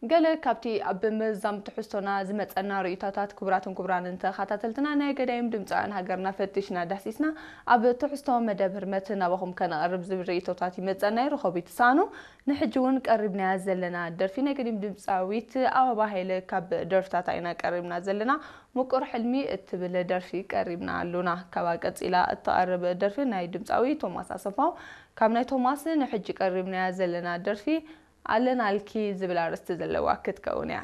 ገለ ካብቲ ኣብ ምዛም ትሕዝቶና ዝመጸና ርእይቶታት፣ ክቡራትን ክቡራንን ተኸታተልትና፣ ናይ ገዳይም ድምፃውያን ሃገርና ፈቲሽና ዳህሲስና ኣብ ትሕዝቶ መደብ ህርመት ናባኹም ከነቕርብ ዝብል ርእይቶታት ይመጸና። ርኸቡ ይትሳኑ። ንሕጂ እውን ቀሪብናያ ዘለና ደርፊ ናይ ገዲም ድምፃዊት ኣበባ ሃይለ ካብ ደርፍታታ ኢና ቀሪብና ዘለና። ምቁር ሕልሚ እትብል ደርፊ ቀሪብና ኣሉና። ካብኣ ቀጺላ እትቐርብ ደርፊ ናይ ድምፃዊ ቶማስ ኣሰፋው። ካብ ናይ ቶማስ ንሕጂ ቀሪብናያ ዘለና ደርፊ ኣለናልኪ ዝብል ኣርእስቲ ዘለዋ ክትከውን እያ።